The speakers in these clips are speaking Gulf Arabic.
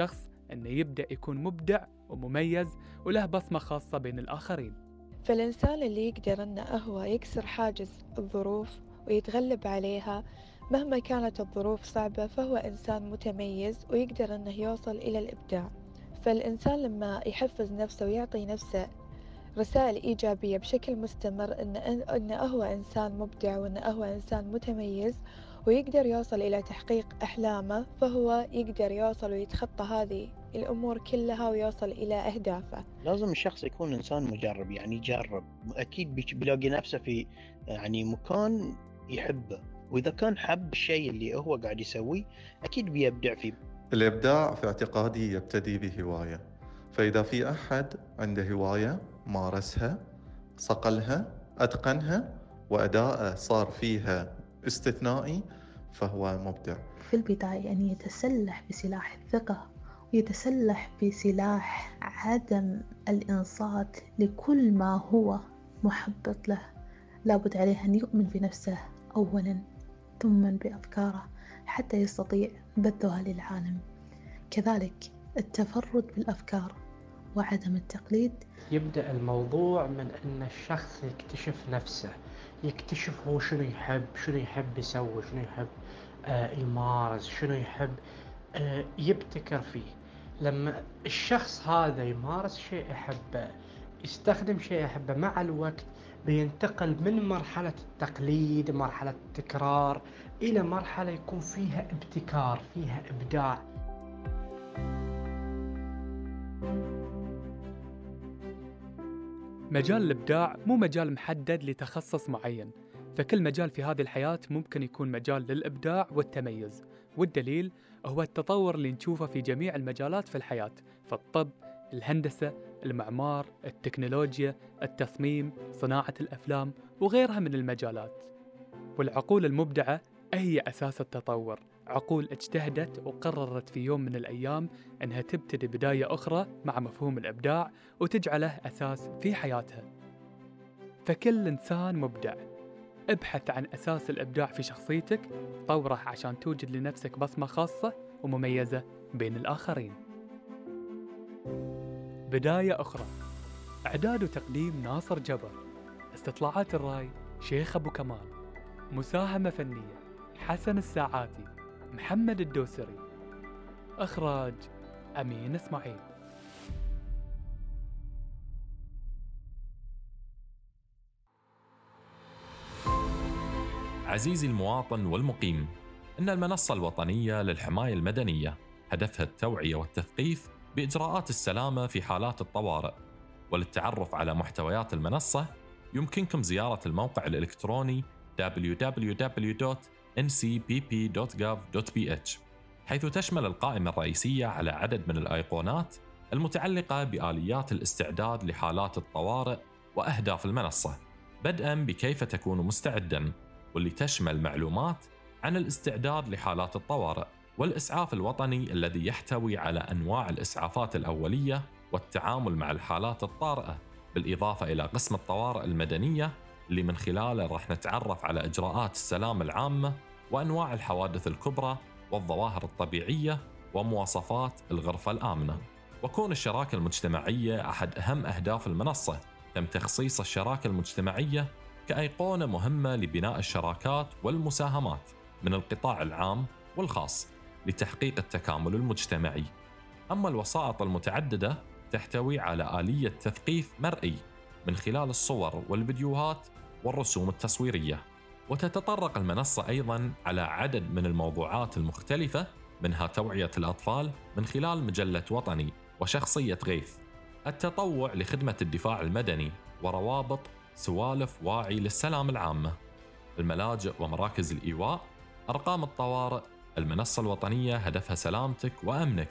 الشخص أنه يبدأ يكون مبدع ومميز وله بصمة خاصة بين الآخرين. فالإنسان اللي يقدر أنه هو يكسر حاجز الظروف ويتغلب عليها مهما كانت الظروف صعبة، فهو إنسان متميز ويقدر أنه يوصل إلى الإبداع. فالإنسان لما يحفز نفسه ويعطي نفسه رسائل إيجابية بشكل مستمر إنه هو إنسان مبدع وإنه هو إنسان متميز ويقدر يوصل إلى تحقيق أحلامه، فهو يقدر يوصل ويتخطى هذه الأمور كلها ويوصل إلى أهدافه. لازم الشخص يكون إنسان مجرب، يعني يجرب أكيد بيلاقي نفسه في يعني مكان يحبه، وإذا كان حب الشيء اللي هو قاعد يسويه أكيد بيبدع فيه. الإبداع في اعتقادي يبتدي بهواية، فإذا في أحد عنده هواية مارسها، صقلها، أتقنها، وأداءه صار فيها استثنائي، فهو مبدع. في البداية أن يتسلح بسلاح الثقة، ويتسلح بسلاح عدم الإنصات لكل ما هو محبط له. لابد عليه أن يؤمن بنفسه أولاً، ثم بأفكاره حتى يستطيع بثها للعالم. كذلك التفرد بالأفكار وعدم التقليد. يبدأ الموضوع من أن الشخص يكتشف نفسه، يكتشف هو شنو يحب يسوي، شنو يحب يمارس، شنو يحب يبتكر فيه. لما الشخص هذا يمارس شيء يحبه، يستخدم شيء يحبه، مع الوقت بينتقل من مرحلة التقليد، مرحلة التكرار، إلى مرحلة يكون فيها ابتكار، فيها إبداع. مجال الإبداع مو مجال محدد لتخصص معين، فكل مجال في هذه الحياة ممكن يكون مجال للإبداع والتميز، والدليل هو التطور اللي نشوفه في جميع المجالات في الحياة، في الطب، الهندسة، المعمار، التكنولوجيا، التصميم، صناعة الأفلام وغيرها من المجالات. والعقول المبدعة هي أساس التطور، عقول اجتهدت وقررت في يوم من الأيام أنها تبتدي بداية أخرى مع مفهوم الإبداع وتجعله أساس في حياتها. فكل إنسان مبدع. ابحث عن أساس الإبداع في شخصيتك، طوره عشان توجد لنفسك بصمة خاصة ومميزة بين الآخرين. بداية أخرى. إعداد وتقديم ناصر جبر. استطلاعات الرأي شيخ أبو كمال. مساهمة فنية حسن الساعاتي، محمد الدوسري. إخراج أمين إسماعيل. عزيزي المواطن والمقيم، إن المنصة الوطنية للحماية المدنية هدفها التوعية والتثقيف بإجراءات السلامة في حالات الطوارئ. وللتعرف على محتويات المنصة يمكنكم زيارة الموقع الإلكتروني www.ncpp.gov.bh، حيث تشمل القائمة الرئيسية على عدد من الأيقونات المتعلقة بآليات الاستعداد لحالات الطوارئ وأهداف المنصة، بدءاً بكيف تكون مستعداً، واللي تشمل معلومات عن الاستعداد لحالات الطوارئ والإسعاف الوطني الذي يحتوي على أنواع الإسعافات الأولية والتعامل مع الحالات الطارئة، بالإضافة إلى قسم الطوارئ المدنية اللي من خلاله راح نتعرف على إجراءات السلامة العامة وأنواع الحوادث الكبرى والظواهر الطبيعية ومواصفات الغرفة الآمنة. وكون الشراكة المجتمعية أحد أهم أهداف المنصة، تم تخصيص الشراكة المجتمعية كأيقونة مهمة لبناء الشراكات والمساهمات من القطاع العام والخاص لتحقيق التكامل المجتمعي. أما الوسائط المتعددة تحتوي على آلية تثقيف مرئي من خلال الصور والفيديوهات والرسوم التصويرية. وتتطرق المنصة أيضاً على عدد من الموضوعات المختلفة، منها توعية الأطفال من خلال مجلة وطني وشخصية غيث، التطوع لخدمة الدفاع المدني، وروابط سوالف واعي للسلام العامة، الملاجئ ومراكز الإيواء، أرقام الطوارئ. المنصة الوطنية هدفها سلامتك وأمنك،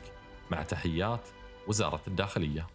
مع تحيات وزارة الداخلية.